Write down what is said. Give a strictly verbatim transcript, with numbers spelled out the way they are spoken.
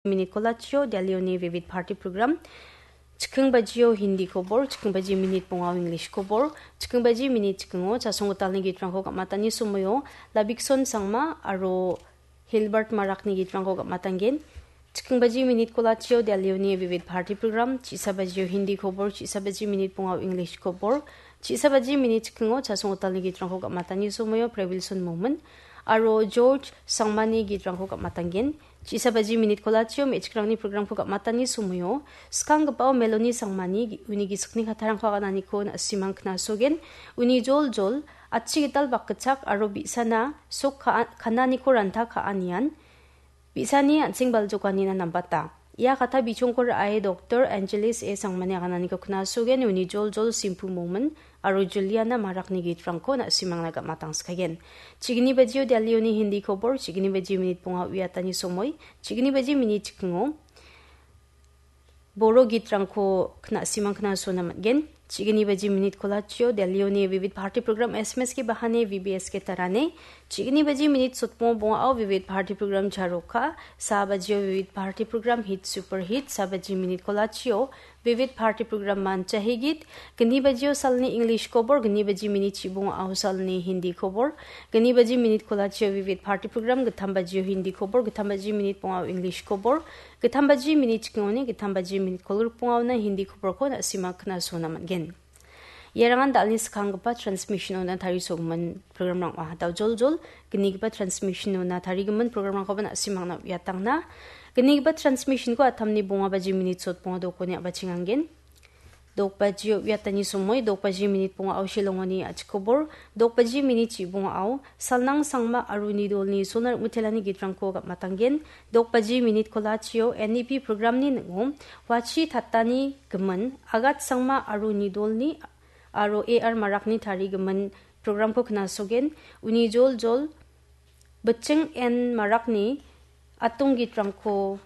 minit kolachio Delhioni Vivid Bharati program. Chikking bajio Hindi kobor, chikking baji minit bongao English kobor, chikking baji minit chikingo chasong gitalni gitrangko gam·atani somoio Labikson Sangma aro Hilbert Marakni gitrangko gam·atanggen. Chikking baji minit kolachio Delhioni Vivid Bharati program, chisa bajio Hindi kobor, chisa baji minit bongao English kobor, chisa baji minit chikingo chasong gitalni gitrangko gam·atani somoio Prebilson Momin aro George Sangmani gitrangko gam·atanggen. Chisa baji minit kolachio me·chikrangni programko gam·atani somoio skanggipao Meloni Sangmani gi-, uni gisikni kattarangko agananiko na·simang knasogen. Uni joljol, atchi gital bakgitchak aro bi·sana sok ka-, kananiko ranta ka·anian bi·sani an·seng baljokanina nambata. Ia katta bichongko ra·e Doktor Angelis A Sangmani agananiko knasogen, uni joljol Simpu Momin aro Juliana Marakni gitrangko na·simangna gam·atangskagen. Chigni bajio Delhioni Hindi kobor, chigni baji minit bonga uiatani somoi, chigni baji minit chikingo Boro gitrangko kna·, simang knasona man·gen. Chigni baji minit kolachio Delhioni Vivid Bharati program S M S ke bahane V B S ke tarane. Chigni baji minit sotmo bongao Vivid Bharati program Charoka. Sa bajio Vivid Bharati program Hit Super Hit. Sa baji minit kolachio Vivid Bharati program Mancha Higit. Gni bajio salni English kobor, gni baji minit chibongao salni Hindi kobor. Gni baji minit kolachio Vivid Bharati program, gittam bajio Hindi kobor, gittam baji minit bongao English kobor. Gittam baji minit chikingoni, gittam baji minit kolgrikbongaona Hindi koborko na·sima knasona man·gen. Iarangan dalni skanggipa transmission-ona tarisogimin program-rang ong·a. Daojoljol gnigipa transmission-ona tarigimin program-rangkoba na·simangna uiatangna. Gnigipa transmission-ko atamni bonga baji minit sotbonga dokoni a·bachengangen. Dokbaji uiatani somoi, dokbaji minit bongao Shillongoni a·chik kobor, dokbaji minit chibongao Salnang Sangma aro Nidolni sona rim·utelani gitrangko gam·atanggen, dokbaji minit kolachio N E P programni ning·o Wachi Tatani gimin, Agat Sangma aro Nidolni aro A R Marakni tarigimin programko knasogen, uni joljol Biching N Marakni atong gitrangko